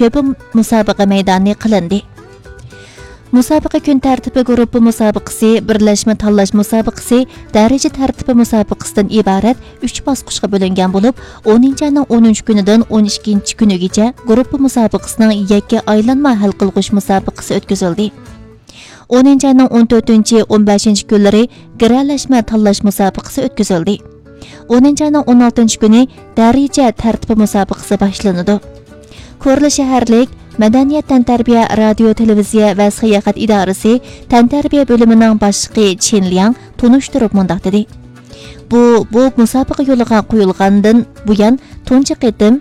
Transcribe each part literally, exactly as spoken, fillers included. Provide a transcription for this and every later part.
كۆپى مۇسابىقە مەيدانى قىلىندى. مۇسابىقە كۈن تەرتىپى گۇرۇپپا مۇسابىقىسى، بىرلەشمە تاللاش مۇسابىقىسى، دەرىجە تەرتىپى مۇسابىقىسىدىن ئىبارەت ئۈچ باسقۇچقا بۆلۈنگەن بولۇپ، ئونىنچى ئاينىڭ ئونىنچى كۈنىدىن ئون ئىككىنچى كۈنىگىچە گۇرۇپپا مۇسابىقىسىنىڭ يەككە ئايلانما ھەل قىلغۇچ مۇسابىقىسى ئۆتكۈزۈلدى. ئونىنچى ئاينىڭ ئون تۆتىنچى، ئون بەشىنچى كۈنلىرى گىرەلەشمە تاللاش مۇسابىقىسى ئۆتكۈزۈلدى. ئونىنچى ئاينىڭ ئون ئالتىنچى كۈنى دەرىجە تەرتىپى مۇسابىقىسى باشلىنىدۇ. كورلا شەھەرلىك مەدەنىيەت تەنتەربىيە، رادىيو، تېلېۋىزىيە ۋە ساياھەت ئىدارىسى تەنتەربىيە بۆلۈمىنىڭ باشلىقى چېن لياڭ تونۇشتۇرۇپ مۇنداق دېدى: بۇ، بۇ مۇسابىقە يولغا قويۇلغاندىن بۇيان تۇنجى قېتىم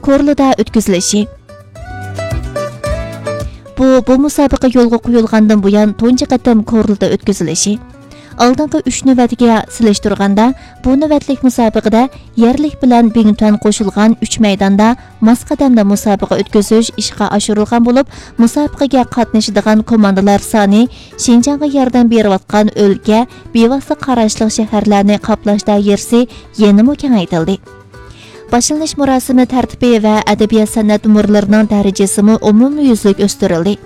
كورلىدا ئۆتكۈزۈلۈشى. بۇ، بۇ مۇسابىقە يولغا قويۇلغاندىن بۇيان تۇنجى قېتىم كورلىدا ئۆتكۈزۈلۈشى. ئالدىنقى ئۈچ نۆۋەتكە سېلىشتۇرغاندا، بۇ نۆۋەتلىك مۇسابىقىدە يەرلىك بىلەن بىڭتۈەن قوشۇلغان ئۈچ مەيداندا ماس قەدەمدە مۇسابىقە ئۆتكۈزۈش ئىشقا ئاشۇرۇلغان بولۇپ، مۇسابىقىگە قاتنىشىدىغان كوماندىلار سانى شىنجاڭغا ياردەم بېرىۋاتقان ئۆلكە، بىۋاسىتە قاراشلىق شەھەرلەرنى قاپلاش دائىرىسى يەنىمۇ كېڭەيتىلدى. باشلىنىش مۇراسىمى تەرتىپى ۋە ئەدەبىيات-سەنئەت نومۇرلىرىنىڭ دەرىجىسىمۇ ئومۇميۈزلۈك ئۆستۈرۈلدى.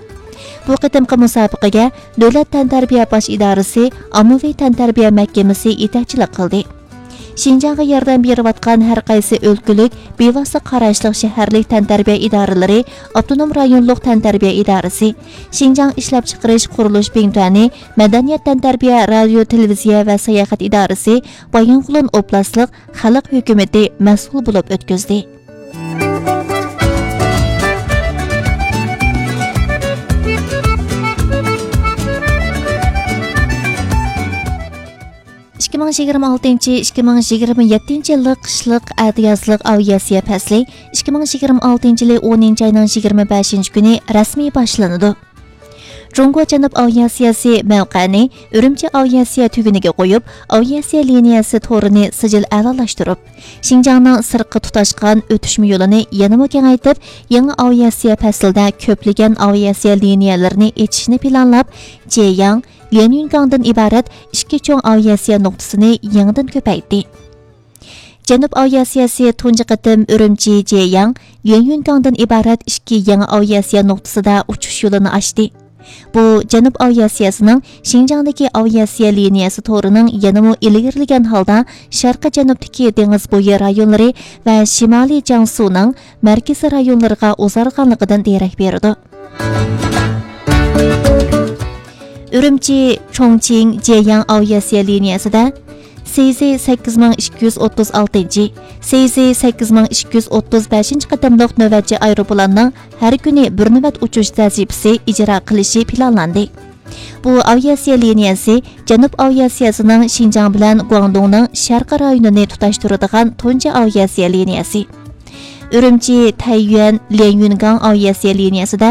بۇ قېتىمقى مۇسابىقىگە دۆلەت تەنتەربىيە باش ئىدارىسى ئاممىۋى تەنتەربىيە مەھكىمىسى يېتەكچىلىك قىلدى. شىنجاڭغا ياردەم بېرىۋاتقان ھەر قايسى ئۆلكىلىك بىۋاسىتە قاراشلىق شەھەرلىك تەنتەربىيە ئىدارىلىرى، ئاپتونوم رايونلۇق تەنتەربىيە ئىدارىسى، شىنجاڭ ئىشلەپچىقىرىش قۇرۇلۇش بىڭتۈەنى، مەدەنىيەت تەنتەربىيە، رادىيو، تېلېۋىزىيە ۋە ساياھەت ئىدارىسى، بايىنغولىن ئوبلاستلىق خەلق ھۆكۈمىتى مەسئۇل بولۇپ ئۆتكۈزدى. ئىككى مىڭ يىگىرمە ئالتىنچى، ئىككى مىڭ يىگىرمە يەتتىنچى يىللىق قىشلىق ئەتىيازلىق ئاۋىئاتسىيە پەسلى ئىككى مىڭ يىگىرمە ئالتىنچى يىلى ئونىنچى ئاينىڭ يىگىرمە بەشىنچى كۈنى رەسمىي باشلىنىدۇ. جۇڭگو جەنۇب ئاۋىئاتسىيەسى مەۋقەنى ئۈرۈمچى ئاۋىئاتسىيە تۈگۈنىگە قويۇپ، ئاۋىئاتسىيە لىنىيەسى تورىنى سىجىل ئەلالاشتۇرۇپ، شىنجاڭنىڭ سىرتقا تۇتاشقان ئۆتۈشمە يولىنى يەنىمۇ كېڭەيتىپ، يېڭى ئاۋىئاتسىيە پەسلىدە كۆپلىگەن ئاۋىئاتسىيە لىنىيەلىرىنى ئېچىشنى پىلانلاپ، جيەيياڭ، ليەنيۈنگاڭدىن ئىبارەت ئىككى چوڭ ئاۋىئاتسىيە نۇقتىسىنى يېڭىدىن كۆپەيتتى. جەنۇب ئاۋىئاتسىيەسى تۇنجى قېتىم ئۈرۈمچى، جيەيياڭ، ليەنيۈنگاڭدىن ئىبارەت ئىككى يېڭى ئاۋىئاتسىيە نۇقتىسىدا ئۇچۇش يولىنى ئاچتى. بۇ جەنۇب ئاۋىئاتسىيەسىنىڭ شىنجاڭدىكى ئاۋىئاتسىيە لىنىيەسى تورىنىڭ يەنىمۇ ئىلگىرىلىگەن ھالدا شەرقىي جەنۇبتىكى دېڭىز بويى رايونلىرى ۋە شىمالىي جياڭسۇنىڭ مەركىزىي رايونلىرىغا ئۇزارغانلىقىدىن دېرەك بېرىدۇ. ئۈرۈمچى، چۇڭچىڭ، جيەيياڭ ئاۋىئاتسىيە لىنىيەسىدە سى زى سەككىز مىڭ ئىككى يۈز ئوتتۇز ئالتىنچى، سى زى سەككىز مىڭ ئىككى يۈز ئوتتۇز بەشىنچى قېتىملىق نۆۋەتچى ئايروپىلاننىڭ ھەر كۈنى بىر نۆۋەت ئۇچۇش ۋەزىپىسى ئىجرا قىلىشى پىلانلاندى. بۇ ئاۋىئاتسىيە لىنىيەسى جەنۇب ئاۋىئاتسىيەسىنىڭ شىنجاڭ بىلەن گۇاڭدۇڭنىڭ شەرقىي رايونىنى تۇتاشتۇرىدىغان تۇنجى ئاۋىئاتسىيە لىنىيەسى. ئۈرۈمچى، تەييۈەن، ليەنيۈنگاڭ ئاۋىئاتسىيە لىنىيەسىدە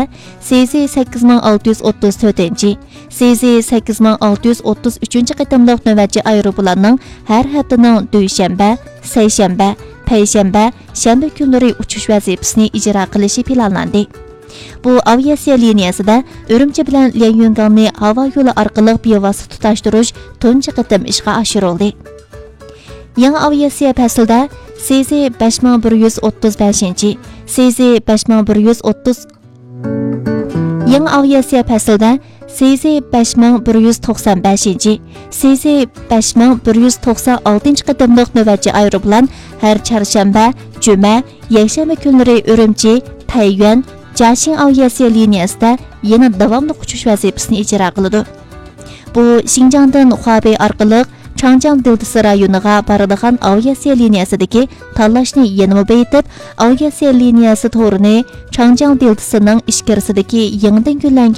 سى زى سەككىز مىڭ ئالتە يۈز ئوتتۇز تۆتىنچى، سى زى سەككىز مىڭ ئالتە يۈز ئوتتۇز ئۈچىنچى قېتىملىق نۆۋەتچى ئايروپىلاننىڭ ھەر ھەپتىنىڭ دۈيشەنبە، سەيشەنبە، پەيشەنبە، شەنبە كۈنلىرى ئۇچۇش ۋەزىپىسىنى ئىجرا قىلىشى پىلانلاندى. بۇ ئاۋىئاتسىيە لىنىيەسىدە ئۈرۈمچى بىلەن ليەنيۈنگاڭنى ھاۋا يولى ئارقىلىق بىۋاسىتە تۇتاشتۇرۇش تۇنجى قېتىم ئىشقا ئاشۇرۇلدى. يېڭى ئاۋىئاتسىيە پەسلىدە سى زى بەش مىڭ بىر يۈز ئوتتۇز بەشىنچى، سى زى بەش مىڭ بىر يۈز ئوتتۇز، يېڭى ئاۋىئاتسىيە پەسلىدە سى زى بەش مىڭ بىر يۈز توقسان بەشىنچى، سى زى بەش مىڭ بىر يۈز توقسان ئالتىنچى قېتىملىق نۆۋەتچى ئايروپىلان ھەر چارشەنبە، جۈمە، يەكشەنبە كۈنلىرى ئۈرۈمچى، تەييۈەن، جياشىڭ ئاۋىئاتسىيە لىنىيەسىدە يەنە داۋاملىق ئۇچۇش ۋەزىپىسىنى ئىجرا قىلىدۇ. بۇ شىنجاڭدىن خۇابېي ئارقىلىق چاڭجياڭ دېلتىسى رايونىغا بارىدىغان ئاۋىئاتسىيە لىنىيەسىدىكى تاللاشنى يەنىمۇ بېيىتىپ، ئاۋىئاتسىيە لىنىيەسى تورىنى چاڭجياڭ دېلتىسىنىڭ ئىچكىرىسىدىكى يېڭىدىن گۈللەنگەن